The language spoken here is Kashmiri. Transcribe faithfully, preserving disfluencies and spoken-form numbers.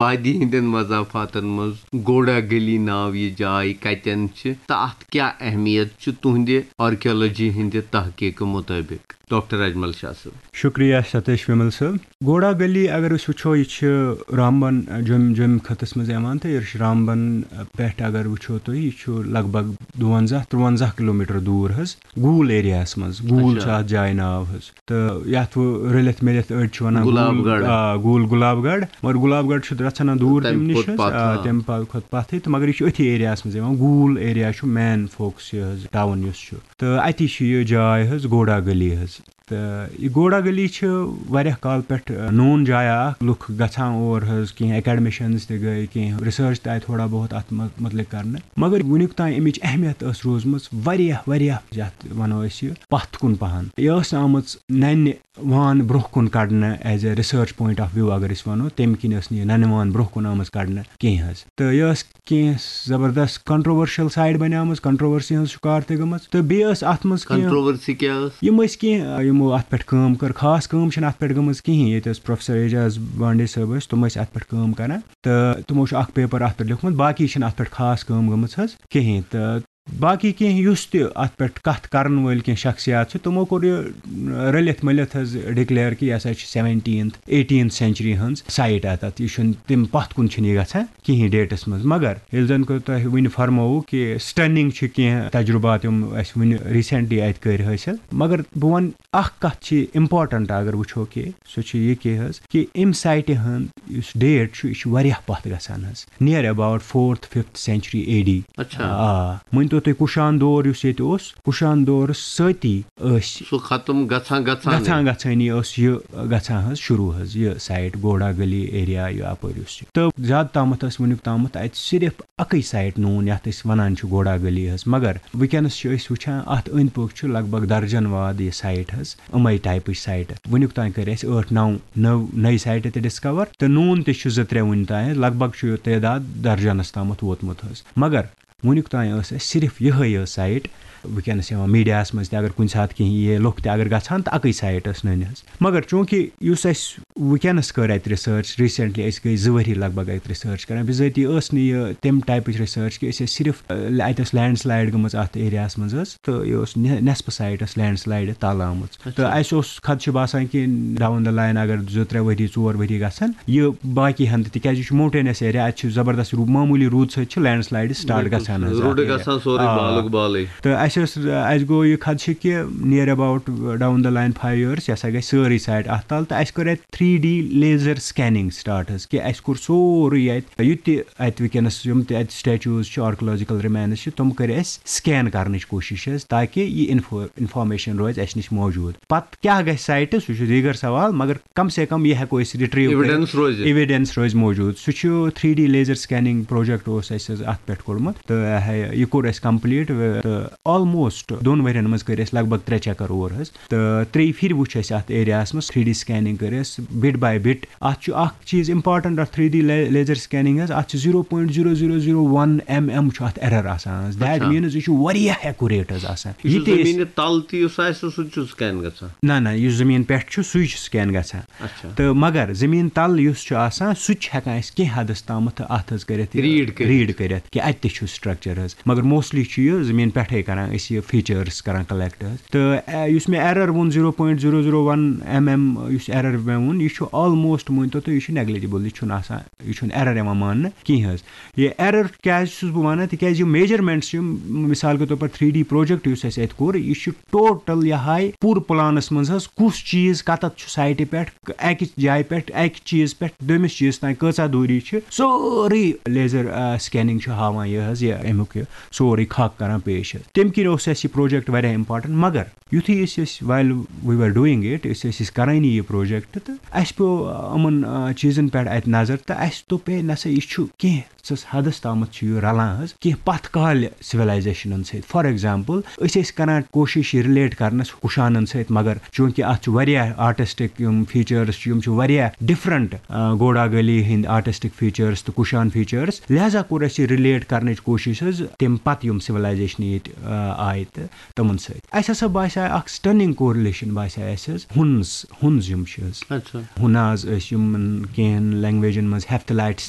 وادی ہٕنٛدٮ۪ن مضافاتن منٛز گوڑا گلی ناو یہِ جاے کتٮ۪ن چھِ تہٕ اتھ کیٛاہ اہمیت چھِ تُہنٛدِ آرکیالوجی ہٕنٛدِ تحقیقہٕ مطٲبق؟ ڈاکٹر اجمل شاہ صٲب۔ شکریہ ستیش ومل صٲب۔ گوڑا گلی اگر أسۍ وٕچھو، یہِ چھِ رامبن، جوٚم جوٚم خطس منٛز یِوان، تہٕ یہِ چھِ رامبن پٮ۪ٹھ اگر وٕچھو تُہۍ، یہِ چھُ لگ بگ دُوَنزاہ تُرٛوَنزاہ کلوٗمیٹر دوٗر حظ، گوٗل ایریاہس منٛز۔ گوٗل اچھا۔ چھُ اتھ جایہِ ناو حظ۔ تہٕ یتھ وۄنۍ رٔلِتھ مِلِتھ أڑۍ چھِ ونان گُلاب گوٗل، گڑھ۔ آ، گوٗل گُلاب گڑھ۔ مگر گُلاب گڑھ چھُ رژھنا دوٗر تَمہِ تَمہِ نِش کھۄتہٕ حظ، پتھ، آ، آ۔ تَمہِ پتہٕ کھۄتہٕ پتھٕے۔ تہٕ مگر یہِ چھُ أتھی ایریاہس منٛز یِوان۔ گوٗل ایریا چھُ مین فوکس یہِ حظ، ٹاوُن یُس چھُ۔ تہٕ اتی چھِ یہِ جاے حظ، گوڑا گلی حظ۔ تہٕ یہِ گوڑا گلی چھِ واریاہ کال پٮ۪ٹھ، آ، نوٗن جایا اکھ، لُکھ گژھان اور حظ، کینٛہہ اکیڈمشنز تہِ گٔے، کینٛہہ ریسرچ تہِ آیہِ تھوڑا بہت اتھ مُ-، مُتعلق کرنہٕ۔ مگر وٕنیُک تام اَمِچ اہمیت ٲس روٗزمٕژ واریاہ، واریاہ، یَتھ وَنو أسۍ یہِ پَتھ کُن پَہَن۔ یہِ ٲس نہٕ آمٕژ نَنہِ وان برٛونٛہہ کُن کَڑنہٕ as a research point of view اگر أسۍ وَنو، تَمہِ کِنۍ ٲس نہٕ یہِ نَنہِ وان برٛونٛہہ کُن آمٕژ کَڑنہٕ کینٛہہ حظ۔ تہٕ یہِ ٲس کینٛہہ زبردست controversial site بَنیمٕژ، controversy ہٕنٛز شِکار تہِ گٔمٕژ۔ تہٕ بیٚیہِ ٲس اَتھ منٛز کینٛہہ، controversy کیٛاہ ٲس؟ یِم ٲسۍ کینٛہہ، آ، یِمو اَتھ پٮ۪ٹھ کٲم کٔر، خاص کٲم چھَنہٕ اَتھ پٮ۪ٹھ گٔمٕژ کِہیٖنۍ۔ ییٚتہِ ٲس پروفیسر اعجاز بانڈے صٲب ٲسۍ، تِم ٲسۍ اَتھ پٮ۪ٹھ کٲم کَران۔ تہٕ تِمو چھُ اکھ پیپر اتھ پٮ۪ٹھ لیوٗکھمُت، باقی چھِنہٕ اتھ پٮ۪ٹھ خاص کٲم گٔمٕژ حظ کِہیٖنۍ۔ تہٕ باقی کینٛہہ یُس تہِ اتھ پٮ۪ٹھ کتھ کرن وٲلۍ کینٛہہ شخصیات چھِ، تِمو کوٚر یہِ رٔلِتھ مٔلِتھ حظ ڈکلیئر کہِ یہِ ہسا چھِ seventeenth eighteenth century ہٕنٛز سایٹ اتھ، اتھ، یہِ چھُنہٕ تمہِ پتھ کُن چھُنہٕ یہِ گژھان کِہیٖنۍ ڈیٹس منٛز۔ مگر ییٚلہِ زن کہِ تۄہہِ وُنہِ فرمووُ کہِ stunning چھِ کینٛہہ تجربات یِم اسہِ وُنہِ recently اتہِ کٔرۍ حٲصِل، مگر بہٕ ونہٕ اکھ کتھ چھِ important اگر وٕچھو کہِ سُہ چھُ یہِ کہِ حظ کہِ امہِ سایٹہِ ہُنٛد یُس ڈیٹ چھُ، یہِ چھُ واریاہ پتھ گژھان حظ، near about fourth fifth century A D۔ اچھا۔ آ، مٲنۍ تو تُہۍ کُشان دور یُس ییٚتہِ اوس، کُشان دورس سۭتی ٲسۍ سُہ ختم گژھان گژھان۔ گژھان گژھٲنی ٲس یہِ گژھان حظ شروٗع حظ، یہِ سایٹ گوڑا گلی ایریا یہِ اپٲرۍ یُس چھُ۔ تہٕ زیادٕ تامتھ ٲس وٕنیُک تامتھ اتہِ صرف اکٕے سایٹ نوٗن یتھ أسۍ ونان چھِ گوڑا گلی حظ، مگر وٕنکیٚنس چھِ أسۍ وٕچھان اتھ أنٛدۍ پٔکۍ چھُ لگ بگ درجن واد یہِ سایٹ حظ۔ یِمے ٹایپٕچ سایٹہٕ۔ وٕنیُک تام کٔرۍ اَسہِ ٲٹھ نَو نٔو نٔے سایٹہٕ تہِ ڈسکور، تہٕ نوٗن تہِ چھُ زٕ ترٛےٚ وٕنہِ تام، لگ بگ چھُ یہِ تعداد درجنس تامتھ ووتمُت حظ۔ مگر وٕنیُک تام ٲس اَسہِ صرف یِہوٚے یٲژ سایٹ۔ وٕنکیٚنس یِوان میٖڈیاہَس منٛز تہِ اگر کُنہِ ساتہٕ کینٛہہ یی لُکھ تہِ اگر گژھان تہٕ اَکٕے سایٹ ٲس نٔنۍ حظ۔ مگر چوٗنٛکہِ یُس اَسہِ وٕنکیٚنس کٔر اَتہِ ریسرچ، recently أسۍ گٔے زٕ ؤری لگ بگ اَتہِ ریسرچ کران، بِذٲتی ٲس نہٕ یہِ تَمہِ ٹایپٕچ ریسرچ کہِ أسۍ ٲسۍ صرف، اَ، اَتہِ ٲس لینڈ سلایڈ گٔمٕژ اَتھ ایریاہَس منٛز حظ، تہٕ یہِ اوس نہِ-، نٮ۪صفہٕ سایٹ ٲس لینڈ سلایڈ تَل آمٕژ۔ اچھا۔ تہٕ اَسہِ اوس خدشہٕ باسان کہِ down the line اگر زٕ ترٛےٚ ؤری، ژور ؤری گژھن، یہِ باقی ہن تہِ، تِکیازِ یہِ چھُ mountainous area، اَتہِ چھُ زبردست روٗ-، معموٗلی روٗد سۭتۍ چھِ لینڈ سلایڈ سٹارٹ بِلکُل، گژھان حظ روٗدٕ اَتھ گژھان ایریاہَس۔ سورُے آ۔ بالُک بالٕے۔ تہٕ اَسہِ ٲس، اَسہِ گوٚو یہِ خدشہٕ کہِ near about down the line five years، یہِ ہسا گژھِ سٲرٕے سایٹ اَتھ تَل، تہٕ اَسہِ کٔر اَتہِ three D laser scanning start حظ، کہِ اَسہِ کوٚر سورُے اَتہِ، یہِ تہِ اَتہِ وٕنکیٚنَس یِم تہِ اَتہِ statues چھِ، archaeological remains چھِ، تِم کٔرۍ اَسہِ سکین کَرنٕچ کوٗشِش حظ، تاکہِ یہِ info-، information روزِ اَسہِ نِش موجوٗد۔ پَتہٕ کیٛاہ گژھِ سایٹہِ، سُہ چھُ دیٖگر سوال، مگر کم سے کم یہِ ہٮ۪کو أسۍ retrieve کٔرِتھ۔ Evidence روزِ۔ Evidence روزِ موجوٗد۔ سُہ چھُ three D laser scanning project اوس اَسہِ حظ اَتھ پٮ۪ٹھ کوٚرمُت، تہٕ یہِ کوٚر اَسہِ complete، تہٕ almost دۄن ؤرین منٛز کٔرۍ اَسہِ لگ بگ ترٛےٚ چکر اور حظ۔ تہٕ ترٛیٚیہِ پھِرِ وٕچھ اَسہِ اَتھ ایریاہَس منٛز، three D scanning کٔر اَسہِ bit by bit۔ اَتھ چھُ اَکھ چیٖز important اَتھ three D laser scanning حظ، اَتھ چھُ zero point zero zero zero one mm چھُ اَتھ error آسان حظ۔ That اچھا۔ Means یہِ چھُ واریاہ accurate حظ آسان۔ یہِ یہِ چھُ تہِ أسۍ زٔمیٖنہِ تَل تہِ یُس آسہِ، سُہ تہِ چھُ scan گژھان؟ نہ، نہ، یُس زٔمیٖن پٮ۪ٹھ چھُ، سُے چھُ scan گژھان۔ اچھا۔ تہٕ مگر زٔمیٖن تَل یُس چھُ آسان، سُہ تہِ چھُ ہٮ۪کان أسۍ کینٛہہ حدس تامَتھ اَتھ حظ کٔرِتھ، یہِ read کٔرِتھ۔ Read کٔرِتھ کہِ اَتہِ تہِ چھُ structure حظ۔ مگر mostly چھُ یہِ زٔمیٖن پٮ۪ٹھَے کَران أسۍ یہِ features کَران collect حظ۔ تہٕ، اَ، یُس مےٚ error ووٚن zero point zero zero one mm، یُس error مےٚ ووٚن، یہِ چھُ almost مٲنۍ تو تُہۍ، یہِ چھُ negligible، یہِ چھُنہٕ آسان، یہِ چھُنہٕ error یِوان ماننہٕ کِہیٖنۍ حظ۔ یہِ error کیٛازِ چھُس بہٕ وَنان؟ تِکیٛازِ یِم measurements چھِ، یِم مِثال کے طور پر three D project یُس اَسہِ اَتہِ کوٚر، یہِ چھُ total یہِ ہاے پوٗرٕ پلانَس منٛز حظ کُس چیٖز کَتَتھ چھُ سایٹہِ پٮ۪ٹھ، اَکہِ جایہِ پٮ۪ٹھ، اَکہِ چیٖز پٮ۪ٹھ دوٚیمِس چیٖز تام کۭژاہ دوٗری چھِ، سورُے laser، آ، scanning چھُ ہاوان یہِ حظ، یہِ اَمیُک یہِ سورُے خاکہٕ کَران پیش حظ۔ تَمہِ کِنۍ اوس اَسہِ یہِ project واریاہ important، مگر یُتھُے أسۍ ٲسۍ، while we were doing it، أسۍ ٲسۍ أسۍ کَرٲنی یہِ project، تہٕ اَسہِ پیوٚو، آ، یِمَن، آ، چیٖزَن پٮ۪ٹھ اَتہِ نظر، تہٕ اَسہِ دوٚپ، ہے، نہ سا، یہِ چھُ کینٛہہ کُس حدس تامتھ چھُ یہِ رلان حظ کینٛہہ پتھ کالہِ سِولایزیشنن سۭتۍ۔ فار ایگزامپل، أسۍ ٲسۍ کران کوٗشِش یہِ رِلیٹ کرنس کُشانن سۭتۍ، مگر چوٗنٛکہِ اتھ چھُ واریاہ آرٹسٹک یِم فیچٲرٕس چھِ، یِم چھِ واریاہ ڈفرنٹ گوڈا گلی ہٕنٛدۍ آرٹسٹک فیچٲرٕس تہٕ کُشان فیچٲرٕس، لہذا کوٚر اَسہِ یہِ رِلیٹ کرنٕچ کوٗشِش حظ تمہِ پتہٕ یِم سِولایزیشنہٕ ییٚتہِ آ، آیہِ تہٕ تِمن سۭتۍ۔ اَسہِ ہسا باسیٛاو اکھ سٹننگ کورلیشن باسیٛاو اَسہِ حظ ہُنز، ہُنز یِم چھِ حظ۔ اچھا۔ ہُناز ٲسۍ یِمن کینٛہن لینگویجن منٛز ہیفتلائٹس